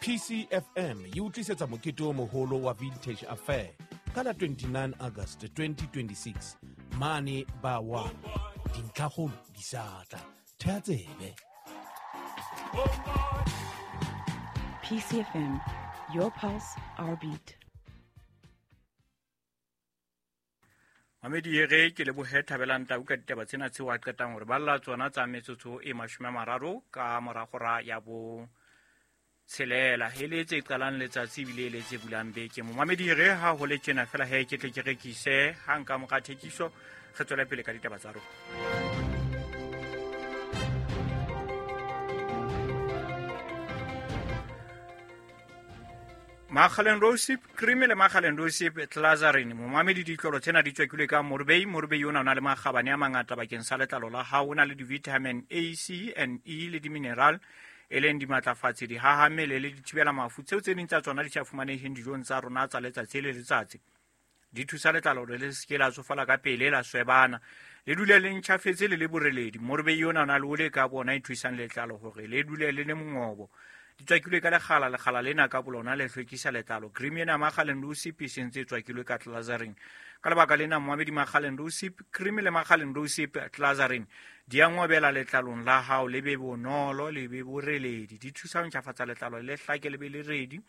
PCFM e utlisetsa mokete o moholo wa Vintage Affair ka la 29 August 2026 mane ba 1. Dintlhakgolo di sa tla. Thea tsebe. PCFM, your pulse, our beat. Mamedi ere ke lebohe Thabelang Tau ka ditaba tsena tseo a qetang hore balla tsona tsa metsotso e 30 ka mora hora ya bo tshelela e le tse qalang letsatsi ebile e le tse bulang beke. Momamedi ere ha ho le tjena fela he ke tle ke rekise ha nka mora thekiso re tswele pele ka ditaba tsa rona. Makgaleng Rosip cream le Makgaleng Rosip Clazarin, momamedi ditlolo tsena di tswakilwe ka Morbey. Morbey ona o na le makgabane a mangata bakeng sa letlalo la hao, o na le di-vitamin A, C and E le di-mineral e leng dimatlafatsi, dihahammele le dithibela mafu tseo tse ding tsa tsona di sa fumaneheng dijong tsa rona tsa letsatsi le letsatsi. Di thusa letlalo hore le seke la tsofala ka pele, la swebana, le dule le ntjhafetse le le boreledi. Morbey ona o na le ole ka bona e thusang letlalo hore le dule le le mongobo. Di tswakilwe ka lekgala, lekgala lena ka bolona le hlwekisa letlalo. Cream ena Makgaleng Rosip e sentse e tswakilwe ka Clazarin. Ka lebaka lena momamedi Makgaleng Rosip cream le Makgaleng Rosip Clazarin di a ngobela letlalong la hao, le be bonolo, le be boreledi. Di thusa ho ntjhafatsa letlalo le hlake le be le redi.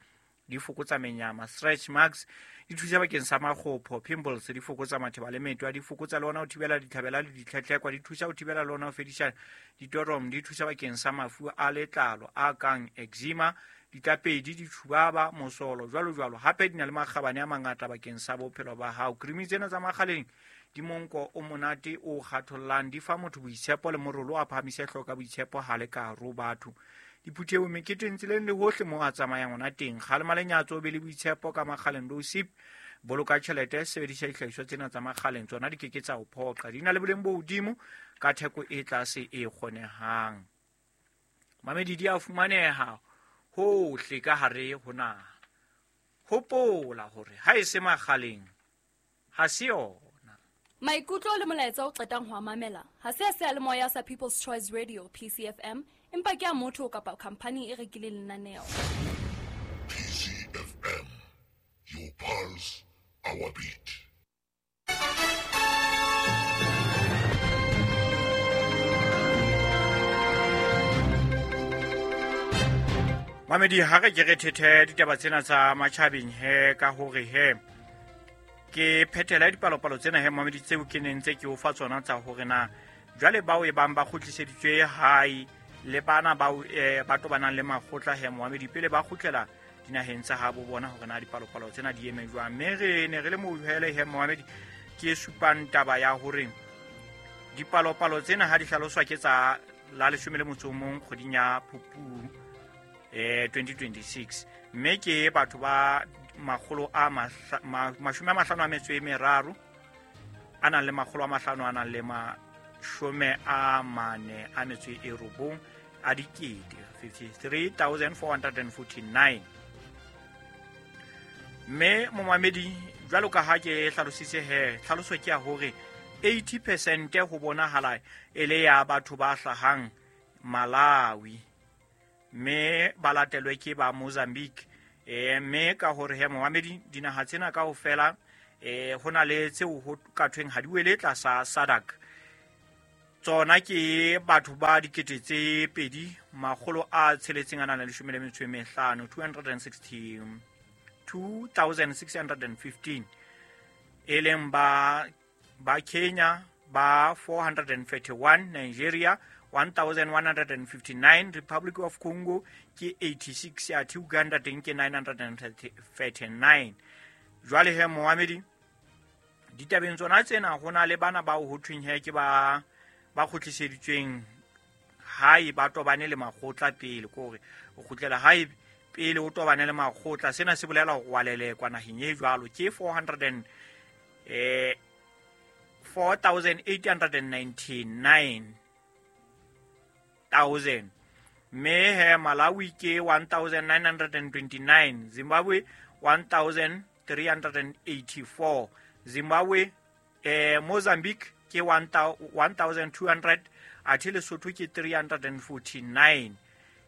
Di fokotsa menyama, stretch marks, di thusa bakeng sa makgopho, pimples, di fokotsa matheba le metwa, di fokotsa le ona ho thibela ditlhabela le ditlhetlhekwa, di thusa ho thibela le ona ho fedisa ditorom, di thusa bakeng sa mafu a letlalo a kang eczema, ditlapedi, ditshubaba, mosolo, jwalo jwalo. Hape di na le makgabane a mangata bakeng sa bophelo ba hao. Cream tsena tsa Makgaleng di monko o monate o kgathollang, di fa motho boitshepo le morolo a phahamise hlooho ka boitshepo ha le ka hare ho batho. Diphuthehong, meketeng, tseleng le hohle moo a tsamayang ona teng. Kgalema lenyatso, o be le boitshepo ka Makgaleng Rosip. Boloka tjhelete, sebedisa dihlahiswa tsena tsa Makgaleng, tsona di keke tsa o phoqa. Di na le boleng bo hodimo ka theko e tlase e kgonehang. Mamedi di a fumaneha hohle ka hare ho naha. Hopola hore ha e se Makgaleng ha se yona. Maikutlo le molaetsa o qetang ho a mamela ha se a seyalemoya sa People's Choice Radio PCFM, empa ke a motho kapa khampani e rekileng lenaneo. PCFM, your pulse, our beat. Mamedi ha re ke re thethe ditaba tsena tsa matjhabeng he ka hore he ke phethela dipalopalo tsena he mamedi tseo ke neng ntse ke o fa tsona tsa hore na jwale bao e bang ba kgutliseditswe hae le bana bao ba tobanang le makgotla he momamedi pele ba kgutlela dinaheng tsa habo bona hore na dipalopalo tsena di eme jwang. Mme re ne re le mohele he momamedi ke supang taba ya hore dipalopalo tsena ha di hlaloswa ke tsa la 11 kgweding ya Phupu 2026, mme ke batho ba makgolo a 53 a nang le 500 a nang le 49 a dikete, 53,449. Mme momamedi jwalo ka ha ke hlalositse he, tlhaloso ke ya hore 80% ho bonahala e le ya batho ba hlahang Malawi, mme ba latelwe ke ba Mozambique. Mme ka hore he momamedi dinaha tsena kaofela ho na le tseo ho ka thweng ha di wele tlasa SADC. Tsona ke batho ba 2,615, 262,615, e leng ba Kenya ba 431, Nigeria 1,159, Republic of Congo ke 86, athe Uganda teng ke 939. Jwale he momamedi ditabeng tsona tsena ho na le bana bao ho thweng he ke ba kgutliseditsweng hae ba tobane le makgotla pele, ke hore o kgutlela hae pele o tobane le makgotla. Sena se bolela hore wa lelekwa naheng e jwalo. Ke 4,899,000. Mme he Malawi ke 1,929, Zimbabwe 1,384, Zimbabwe Mozambique ke 1,200, athe Lesotho ke 349.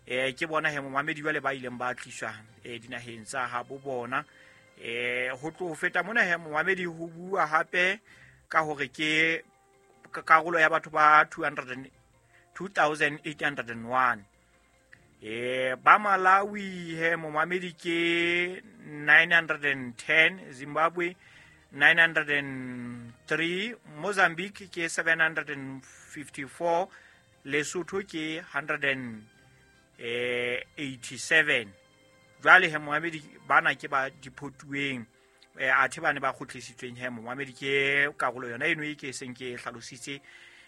Ke bona he momamedi jwale ba ileng ba tliswa dinaheng tsa habo bona. Ho tlo feta mona he momamedi ho bua hape ka hore ke karolo ya batho ba 2801. Ba Malawi he momamedi ke 910, Zimbabwe 903, Mozambique ke 754, Lesotho ke 187. Jwale he momamedi bana ke ba diphotuweng, athe bane ba kgutlisitsweng he momamedi ke karolo yona eno e ke seng ke hlalositse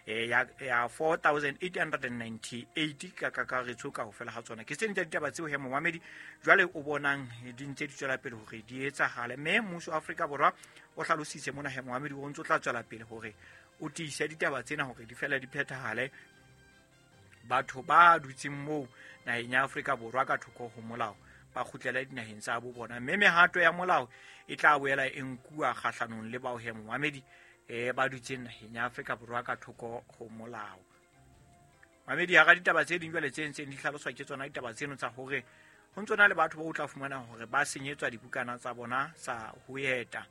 ya 4898 ka kakaretso ka hofela ha tsona. Ke tsene tsa ditaba tseo he momamedi jwale o bonang di ntse di tswela pele hore di etsahale, mme mmuso wa Afrika Borwa o hlalositse mona he momamedi o ntse o tla tswela pele hore o tiise ditaba tsena hore di fela di phethahale. Batho ba dutseng moo naheng ya Afrika Borwa ka thoko ho molao ba kgutlele dinaheng tsa bo bona, mme mehato ya molao e tla boela e nkuwa kgahlanong le bao he momamedi ba dutseng naheng ya Afrika Borwa ka thoko ho molao. Mamedi hara ditaba tse ding jwale tse ntseng di hlaloswa ke tsona ditaba tseno tsa hore ho ntso na le batho ba o tla fumana hore ba senyetswa dibukana tsa bona tsa ho eta.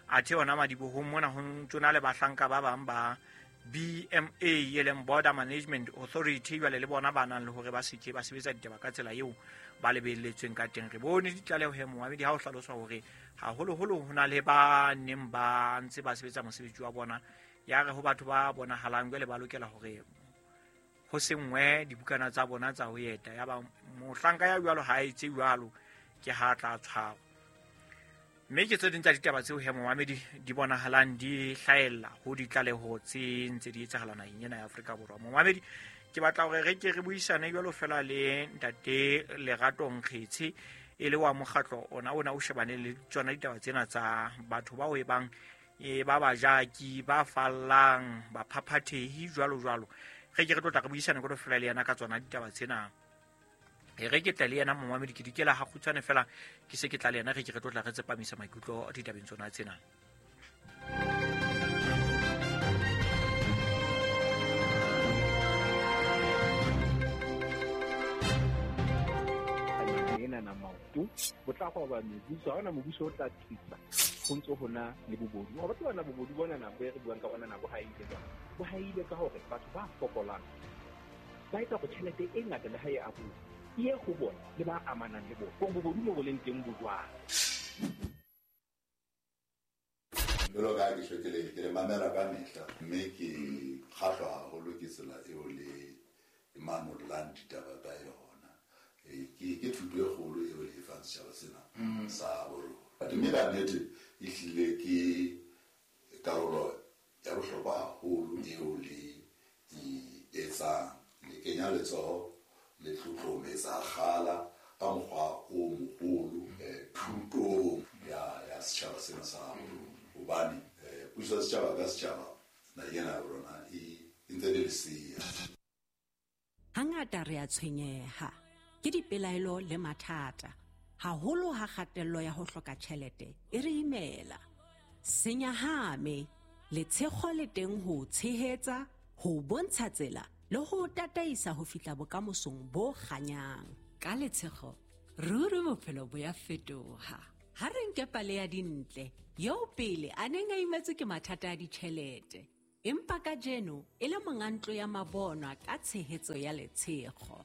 Athe hona madibohong mona ho ntso na le bahlanka ba bang ba BMA e leng Border Management Authority jwale le bona ba nang le hore ba seke ba sebetsa ditaba ka tsela eo ba lebelletsweng ka teng. Re bone ditlaleho he momamedi ha o hlaloswa hore haholoholo ho na le ba neng ba ntse ba sebetsa mosebetsi wa bona, ya re ho batho ba bonahalang jwale ba lokela hore ho sengwe dibukana tsa bona tsa ho eta, ya ba mohlanka ya jwalo ha etse jwalo ke ha tla tshwarwa. Mme ke tse ding tsa ditaba tseo he momamedi di bonahalang di hlahella ho ditlaleho tse ntse di etsahala naheng ena ya Afrika Borwa. Momamedi ke batla hore re ke re buisane jwalo fela le ntate Lerato Nkgetshe e le wa mokgatlo ona o shebane le tsona ditaba tsena tsa batho bao e bang ba bajaki ba fallang ba phaphathehi jwalo jwalo. Re ke re tlo tla re buisane jwalo fela le yena ka tsona ditaba tsena. Re ke tla le yena momamedi ke dikela ha kgutshwane fela ke se ke tla le yena re ke re tlo tla re tsepamisa maikutlo ditabeng tsona tsena. Bo tla go ba mebuso, ha ona mobuso o tla tlisa go ntse ho na le bobodu. Wa batho bana bobodu bona na bo re buang ka bona na bo haile jwang? Bo haile ka hore batho ba fokolang ba etsa go tjhelete e ngata le ha e abuwa e ye ho bona le ba amanang le bona. Bo bobodu mo bo leng teng bo jwang? Jwalo ka ha ke tjho ke le mamela ka mehla, mme ke kgahlwa haholo ke tsela eo le manollang ditaba ka yona. Ke thuto e kgolo eo le e fang setjhaba sena sa borona. Mme ka nnete e hlile ke karolo ya bohlokwa haholo eo le e etsang. Le kenya letsoho le tlotlometsa kgala ka mokgwa o moholo thutong ya setjhaba sena sa borona. Hobane puso ya setjhaba ka setjhaba naheng ena ya rona e ntse le lesea. Hangata re a tshwenyeha ke dipelaelo le mathata, haholo ha kgatello ya ho hloka tjhelete e re imela. Senyahame, letshego le teng ho tshehetsa, ho bontsha tsela le ho tataisa ho fihla bokamosong bo kganyang. Ka letshego, ruri bophelo bo ya fetoha. Ha re nke pale ya Dintle, eo pele a neng a imetswe ke mathata a ditjhelete, empa kajeno e le monga ntlo ya mabonwa ka tshehetso ya letshego.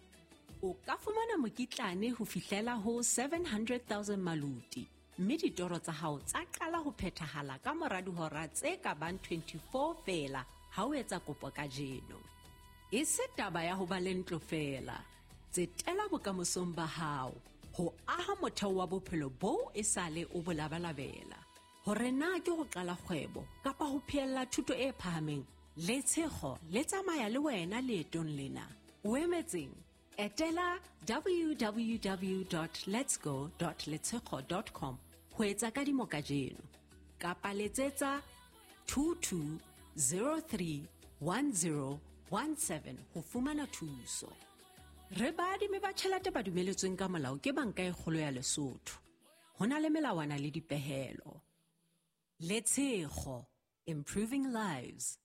O ka fumana mokitlane ho fihlela ho 700,000 maluti, mme ditoro tsa hao tsa qala ho phethahala ka mora dihora tse ka bang 24 feela ha o etsa kopo kajeno. E se taba ya ho ba le ntlo feela, tsetela bokamosong ba hao ho aha motheo wa bophelo boo e sale o bo labalabela. Hore na ke ho qala kgwebo kapa ho phehella thuto e phahameng, letshego le tsamaya le wena leetong lena. O emetseng? Etela www.letsgo.letshego.com ho etsa kadimo kajeno kapa letsetsa 22031017 ho fumana thuso. Re baadimi ba tjhelete ba dumeletsweng ka molao ke Banka e Kgolo ya Lesotho. Ho na le melawana le dipehelo. Letshego, improving lives.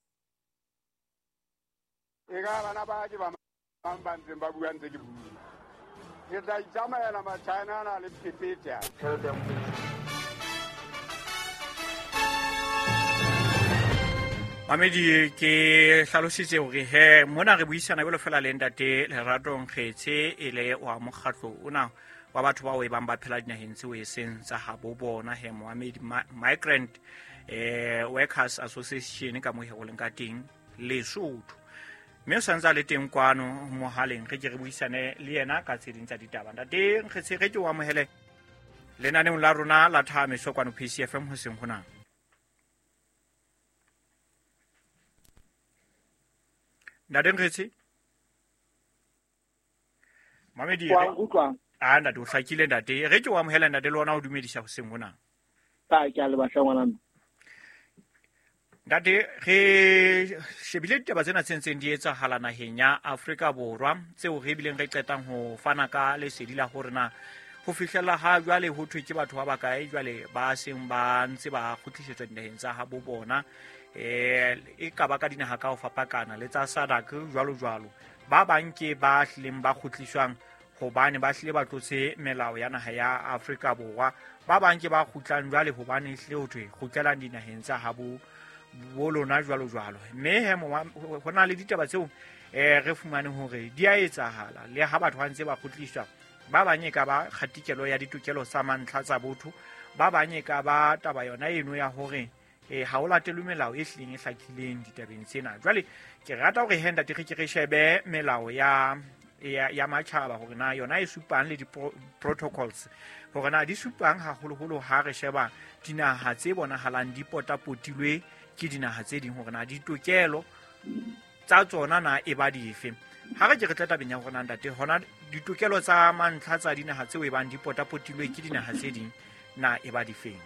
E ka bana ba ke ba bang ba ntseng ba bua ntse ke bua. Ke tla itsamaela Machina ana le phephethe. Tjhelete ya Mamedi, ke hlalositse hore he mona re buisana jwalo fela le ntate Lerato Nkgetse, e le wa mokgatlo ona wa batho bao e bang ba phela dinaheng tseo e seng tsa habo bona, he Mohamedi, Migrant Workers Association ka mo he go leng ka teng Lesotho. Mme o santse a le teng kwano mohaleng, re ke re buisane le yena ka tse ding tsa ditaba. Ntate Nkgetse, re ke o amohele lenaneong la rona la Thahameso kwano PCFM hoseng hona. Ntate Nkgetse, Mamedi, Wa nkutlwa? A ntate, o hlakile ntate. Re ke o amohela ntate le ona o dumedisa hoseng hona. Ka ke a le batla ngwana. Ntate, re shebile ditaba tsena tse ntseng di etsahala naheng ya Afrika Borwa, tseo re bileng re qetang ho fana ka lesedi la hore na ho fihlella ha jwale ho thwe ke batho ba bakae jwale ba seng ba ntse ba kgutlisetswa dinaheng tsa habo bona, e ka ba ka dinaha ka ho fapakana le tsa SADC jwalo jwalo. Ba bang ke ba hlileng ba kgutliswang hobane ba hlile ba tlotse melao ya naha ya Afrika Borwa, ba bang ke ba kgutlang jwale hobane hlile ho thwe kgutlelang dinaheng tsa habo bo lona jwalo jwalo. Mme he ho na le ditaba tseo re fumane hore di a etsahala le ha batho ba ntse ba kgutliswa. Ba bang e ka ba kgatikelo ya ditokelo tsa mantlha tsa botho, ba bang e ka ba taba yona eno ya hore ha o latelwe melao e hlileng e hlakileng ditabeng tsena. Jwale ke rata hore he ntate re ke re shebe melao ya matjhaba hore na yona e supang le di-protocols hore na di supang haholoholo ha re sheba dinaha tse bonahalang di potapotilwe ke dinaha tse ding, hore na ditokelo tsa tsona na e ba dife. Ha re ke re tla tabeng ya hore na ntate hona ditokelo tsa mantlha tsa dinaha tseo e bang di potapotilwe ke dinaha tse ding na e ba difeng.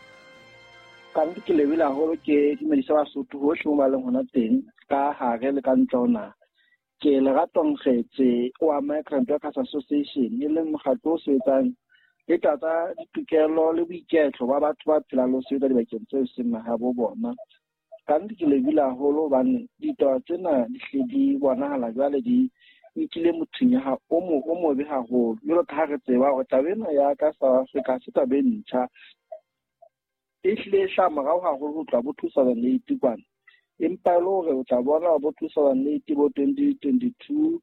Ka nnete ke lebile haholo, ke dumedisa Basotho hohle mo ba leng hona teng ka hare le ka ntle ho naha. Ke Lerato Nkgetse wa Migrant Workers Association, e leng mokgatlo o sebetsang le tsa ditokelo le boiketlo ba batho ba phelang le ho sebetsa dibakeng tseo seng mahabo bona. Ka nnete ke lebile haholo hobane ditaba tsena di hle di bonahala jwale di nkile mothunya o mobe haholo. Jwalo ka ha re tseba hore taba ena ya ka South Africa se taba e ntjha, e hlile e hlaha morao haholo ho tloha bo 2008 kwana. Empa e le hore o tla bona bo 2008 bo 2022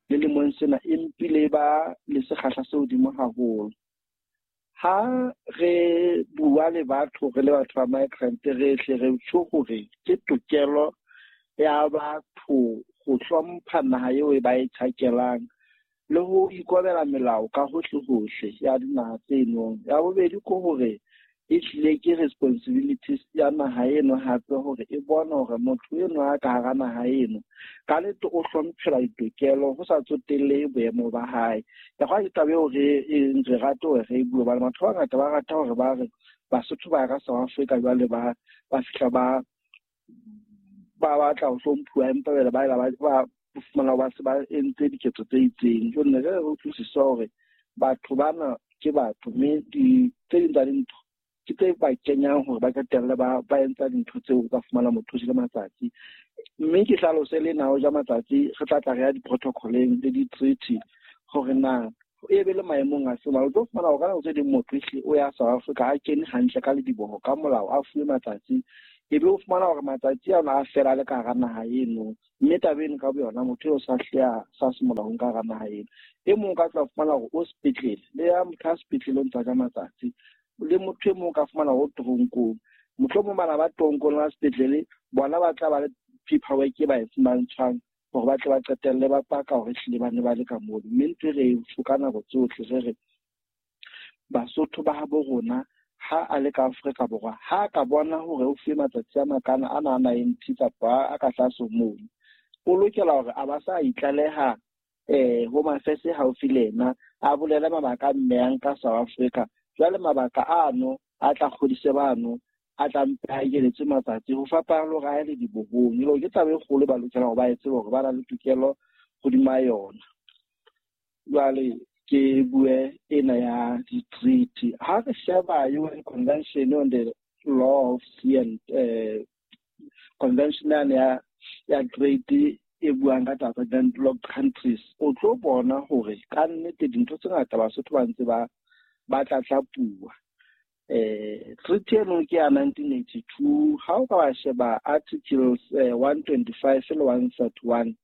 le lemong sena e mpile ba le sekgahla se hodimo haholo. Ha re bua le batho, re le batho ba migrant, re hle re tjho hore ke tokelo ya batho ho hlompha naha eo e ba e tjhakelang le ho ikobela melao ka hohle hohle ya dinaha tseno. Ya bobedi ke hore e hlile ke responsibilities ya naha eno hape hore e bone hore motho eno a ka hara naha eno ka nnete o hlomphela ditokelo ho sa tsotellehe boemo ba hae. Ya hwa ke taba eo re rate hore re e bue hobane batho ba bangata ba rata hore ba re Basotho ba ya ka South Africa jwale ba fihla ba batla ho hlomphuwa, empa jwale ba ela ba fumana ba se ba entse diketso tse itseng. Jwale ne re utlwisisa hore batho bana ke batho, mme tse ding tsa dintho ke tse ba kenyang hore ba qetelle ba entsa dintho tseo ka fumana motho o jele matsatsi. Mme ke hlalose le na o ja matsatsi, re tla tla re ya di-protocoleng le di-treaty hore na e be le maemong a se. O tlo fumana hore ka nako tse ding motho ehlile o ya South Africa a kene hantle ka lediboho ka molao, a fuwe matsatsi, ebe o fumana hore matsatsi ana a fela le ka hara naha eno. Mme taba eno ka boyona motho eo sa hleha sa se molaong ka hara naha eno. E mong ka tla fumana hore o sepetlele, le ya motho a sepetlele o ntsa ja matsatsi, le motho e mong ka fumana hore o toronkong. Mohlomong bana ba toronkong ba sepetlele bona ba tla ba le paperwork e ba e fumantshwang hore ba tle ba qetelle ba paka hore ehlile ba ne ba le ka mono. Mme ntho e re e ka nako tsohle re re Basotho ba habo rona ha a le ka Afrika Borwa, ha a ka bona hore o fuwe matsatsi a makana ana a 90 kapa a ka tlase mono, o lokela hore a ba sa itlaleha Home Affairs haufi le yena, a bolele mabaka a mmeyang ka South Africa. Jwale mabaka ano a tla kgodise bano a tla mpe a ekeletswe matsatsi ho fapana le hore a ye le dibohong. E le hore ke taba e kgolo ba lokela hore ba e tsebe hore ba na le tokelo hodima yona. Jwale ke bue ena ya di-treaty. Ha re sheba UN Convention on the Law of Sea and Convention ya Trade e buang ka taba tsa landlocked countries, o tlo bona hore ka nnete dintho tse ngata Basotho ba ntse ba tlatlapuwa. Treaty eno ke ya 1982. Ha o ka wa sheba articles 125 le 131,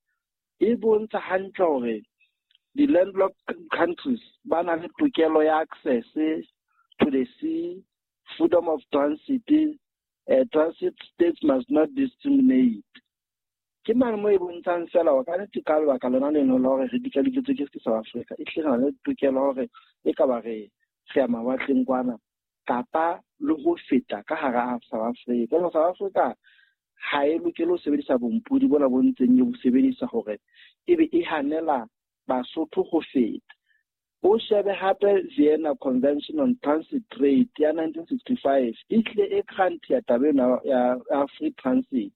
e bontsha hantle hore di-landlocked countries ba na le tokelo ya access to the sea, freedom of transit, transit states must not discriminate. Ke mane mo e bontshang fela hore ka nnete ka lebaka lona leno la hore re dikadiketswe ke South Africa, e hlile re na le tokelo hore e ka ba re ya mawatleng kwana kapa le ho feta ka hara South Africa. Jwale South Africa ha e lokele ho sebedisa bompodi bona bo ntseng e bo sebedisa hore ebe e hanela Basotho ho feta. O shebe hape Vienna Convention on Transit Trade ya 1965, e hlile e grant ya taba ena ya free transit,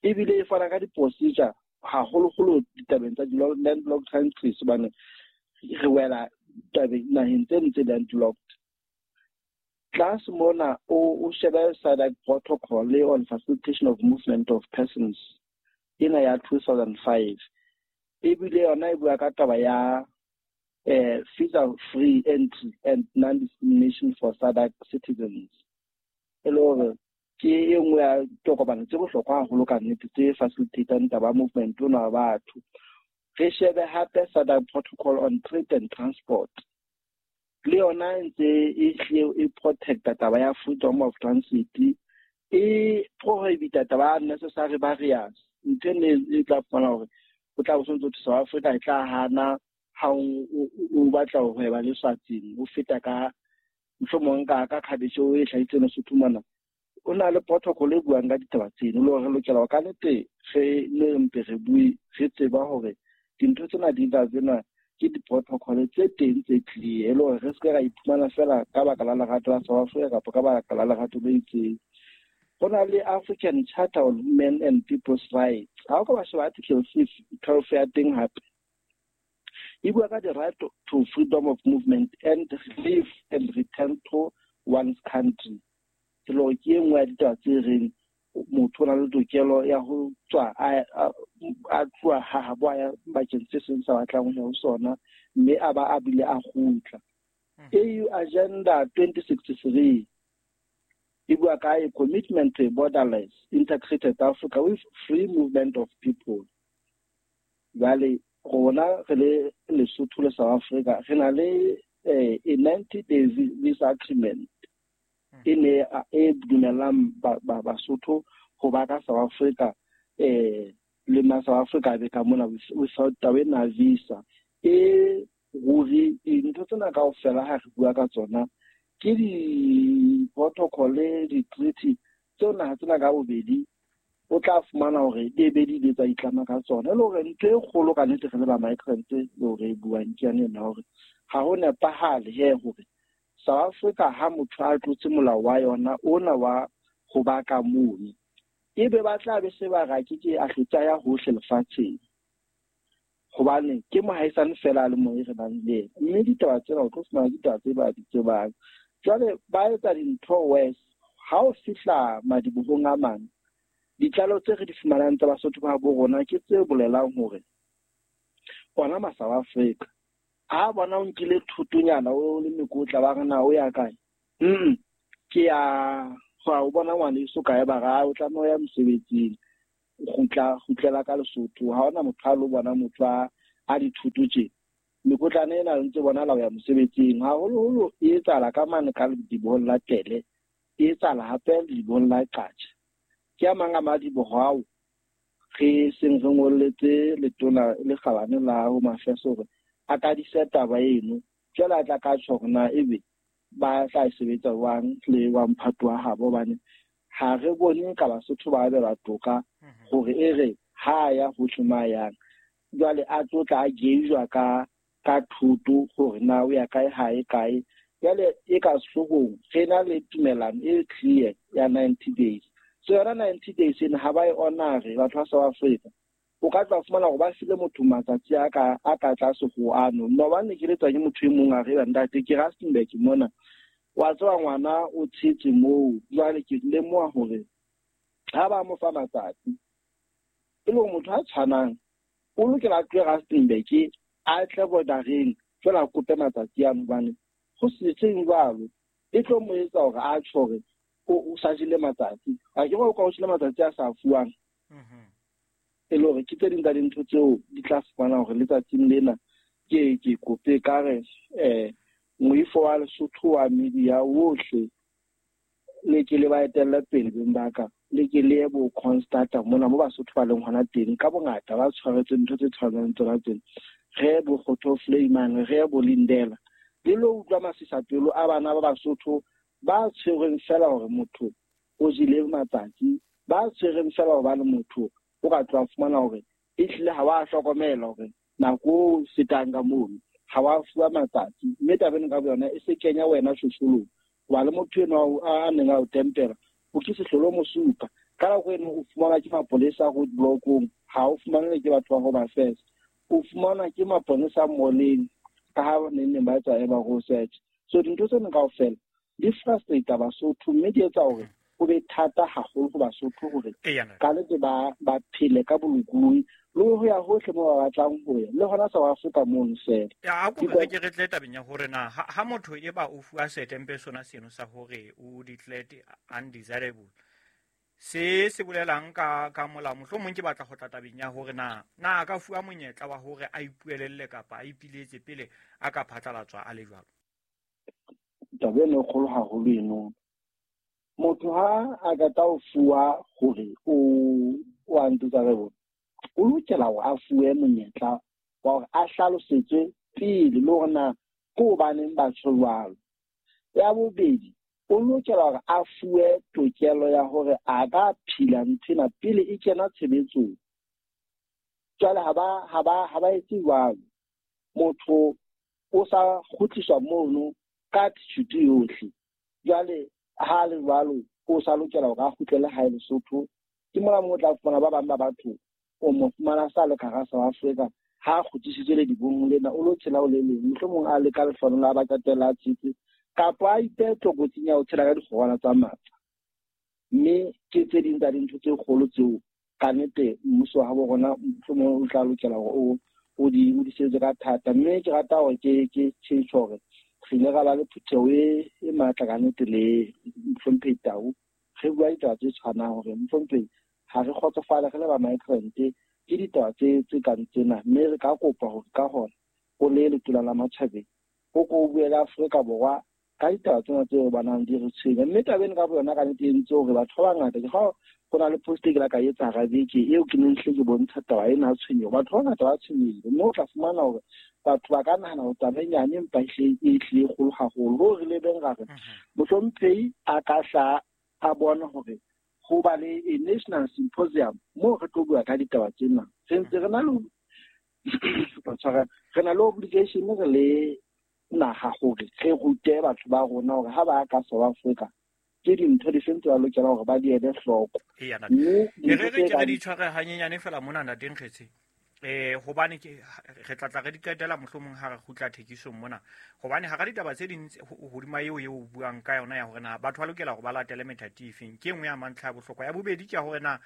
ebile e fana ka di-procedure haholoholo ditabeng tsa landlocked countries, hobane re wela tabeng naheng tse ntse landlocked. Tlase mona o shebe SADC protocol on facilitation of movement of persons ena ya 2005, ebile yona e bua ka taba ya visa free entry and non-discrimination for SADC citizens. E le hore ke e nngwe ya tokomane tse bohlokwa haholo ka nnete tse facilitatang taba movement ona wa batho. Re shebe hape SADC protocol on trade and transport, le yona e ntse e hlile e protecta taba ya freedom of transit, e prohibita taba ya unnecessary barriers. Ntho ene e tla fumana hore o tla bo sontso South Africa e tla hana ha o batla ho hweba le Swatsing, o feta ka mohlomong ka cabbage o e hlahitseng Lesotho mona. O na le protocol e buang ka ditaba tseno, le hore re lokela ho ka nnete re ne mpe re bue re tseba hore dintho tsena di tla tsena ke di-protocol tse teng tse clear, e le hore re se ke ra iphumana fela ka baka la lerato la South Africa kapa ka baka la lerato le itseng. Ho na le African Charter on Human and People's Rights. Ha o ka ba sheba article 12 ya teng hape, e bua ka the right to freedom of movement and live and return to one's country. Ke le hore ke e nngwe ya ditaba tse reng motho o na le tokelo ya ho tswa a tloha ha habo a ya bakeng se seng sa batlang ho ya ho sona, mme a ba a bile a kgutla. AU Agenda 2063 e bua ka a commitment to a borderless integrated Africa with free movement of people. Jwale rona re le Lesotho le South Africa re na le a 90-day visa agreement e ne e dumellang Basotho ho ba ka South Africa, le ma South Africa be ka mona without taba ena visa. E ruri dintho tsena kaofela ha re bua ka tsona ke di-protocol le di-treaty tseo naha tsena ka bobedi o tla fumana hore di be di ile tsa itlama ka tsona. E le hore ntho e kgolo ka nnete re le ba migrants le hore e buang ke yane ena hore ha ho nepahale he hore South Africa ha motho a tlotse molao wa yona ona wa ho ba ka mono, ebe ba tla be se ba ra ke a hlotsa ya hohle lefatsheng, hobane ke mohaisane fela le mong e re nang le yena. Mme ditaba tsena o tlo fumana ditaba tse ba di tsebang. Jwale ba etsa dintho worse. Ha o fihla madibohong a mang, ditlaleho tse re di fumanang tsa Basotho ba bo rona ke tse bolelang hore ona ma South Africa ha bona o nkile thotonyana o le mekotla ba re na o ya kae, ke ya ho bona ngwaneso kae, ba ra o tlameha ho ya mosebetsing, kgutlela ka Lesotho. Ha hona motho a lo bona motho a dithoto tje, mekotlana ena ntse bona la ho ya mosebetsing. Haholoholo e etsahala ka mane ka ledibohong la Tele, e etsahala hape ledibohong la Qacha. Ke a mang a madiboho ao re seng re ngolletse letona le kgabane la Home Affairs hore a ka disa taba eno. Jwale a tla ka tjho hore na ebe ba tla e sebetsa jwang le wa mphato wa habo, hobane ha re bone ka Basotho ba abelwa toka hore e re ha ya hohle ma yang. Jwale a tlo tla a gauge ka thoto hore na o ya kae ha e kae. Jwale e ka sehloohong re na le tumelano e clear ya 90 days. So yona 90 days ena ha ba e honore batho ba South Africa. O ka tla fumana hore ba file motho matsatsi a ka tlase ho ano. Maobane ke letswa ke motho e mong a re ntate ke Rustenburg mona, wa tseba ngwana o tshetse moo. Jwale ke lemoha hore ha ba mo fa matsatsi E le hore motho a tshwanang o lokela a tlohe Rustenburg a tle bordereng jwale a kope matsatsi ano, hobane go setseng jwalo e tlo mo etsa hore a tjho hore o sa jele matsatsi. A ke o ka o jele matsatsi a sa fuwang. E le hore ke tse ding tsa dintho tseo di tla fumana hore letsatsing lena ke kope ka re moifo wa Lesotho wa media wohle le ke le ba etelle pele beng ba ka, le ke le bo Constata mona mo Basotho ba leng hona teng ka bongata ba tshwaretswe ntho tse tshwanang tsona tsena. Re bo Kgotho Flayman, re bo Lindela, le lo utlwa masisapelo a bana ba Basotho ba tshwerweng fela hore motho o jele matsatsi, ba tshwerweng fela hobane motho o ka tloha fumana hore ehlile ha wa hlokomela hore nako o fetang ka mono ha wa fuwa matsatsi, mme taba eno ka boyona e se kenya wena shosholong. Hoba le motho enwa a neng a o tempela, o ke sehlolo mo supa. Ka nako eno o fumanwa ke mapolesa roadblock-ong, ha o fumanwe ke batho ba Home Affairs, o fumanwa ke maponesa moleng ka ha neng neng ba etsa eba go search. So dintho tseno kaofela di frustrate Basotho, mme di etsa hore ho be thata haholo ho Basotho hore ka nnete ba phele ka bolokolohi le ho ya hohle moo ba batlang ho ya, le hona South Africa mono fela. Ya, a ko re ke re tle tabeng ya hore na ha motho e ba o fuwa setempe sona seno sa hore o declared undesirable, se bolelang ka molao, mohlomong ke batla ho tla tabeng ya hore na a ka fuwa monyetla wa hore a ipuelelle kapa a ipiletse pele a ka phatlalatswa a le jwalo. Taba eno e kgolo haholo eno. Motho ha a ka tla o fuwa hore o undesirable, o lokela hore a fuwe monyetla wa hore a hlalosetswe pele le hore na ke hobaneng ba tjho jwalo. Ya bobedi, o lokela hore a fuwe tokelo ya hore a ka phila nthwena pele e kena tshebetsong. Jwale ha ba etse jwalo, motho o sa kgutliswa mono ka attitude yohle. Jwale ha le jwalo o sa lokela hore a kgutlele hae Lesotho. Ke mona moo o tla fumana ba bang ba batho o mo fumana sa le ka hara South Africa, ha kgutlisitswe le dibong lena, o lo tshela o le leng, mohlomong a le ka lefano la ba qetella a tshetse, kapa a ipehe tlokotsing ya ho tshela ka dikgorwana tsa matla. Mme ke tse ding tsa dintho tse kgolo tseo ka nnete mmuso wa habo rona mohlomong o tla lokela hore o di sebetse ka thata. Mme ke rata hore ke tjho hore re ile ra ba le phutheho e matla ka nnete le Mohlomphehi Tau, re bua ditaba tse tshwanang hore Mohlomphehi ha re kgotsofale re le ba migrant ke ditaba tse kang tsena, mme re ka kopa hore ka hona o le letona la matjhabeng o ko o bue le Afrika Borwa ka ditaba tsena tseo ba nang di re tshwenya. Mme taba eno ka boyona ka nnete e entse hore batho ba bangata, ke ha ho na le post e ke la ka etsa hara beke eo ke neng hle ke bontsha taba ena ya tshwenyeho, batho ba bangata ba tshwenyehile, mme o tla fumana hore batho ba ka nahana hore taba e nyane empa ehlile e kgolo haholo. Hoo re lebeng ra re Mohlomphehi a ka hla a bona hore ho ba le a national symposium moo re tlo bua ka ditaba tsena. Re ntse re na le obligation re le naha hore re rute batho ba rona hore ha ba ka South Africa ke dintho di feng tse ba lokelang hore ba di ele hloko. Mme re ke di tshware hanyenyane fela mona ntate Nkgetse, hobane ke re tla re di qetela mohlomong ha re kgutla thekisong mona, hobane hara ditaba tse ding hodima eo o buang ka yona ya hore na batho ba lokela hore ba latele methati efeng, ke e nngwe ya mantlha ya bohlokwa. Ya bobedi ke ya hore na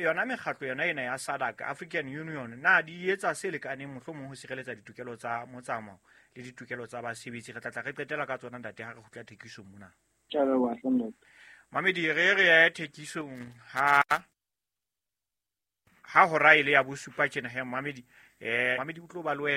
yona mekgatlo yona ena ya SADC, African Union, na di etsa se lekaneng mohlomong ho sireletsa ditokelo tsa motsamao le ditokelo tsa basebetsi. Re tla re qetela ka tsona ntate ha re kgutla thekisong mona. Mamedi, re re thekisong ha hora ile ya bosupa tjena he Mamedi, Mamedi o tlo ba le wena.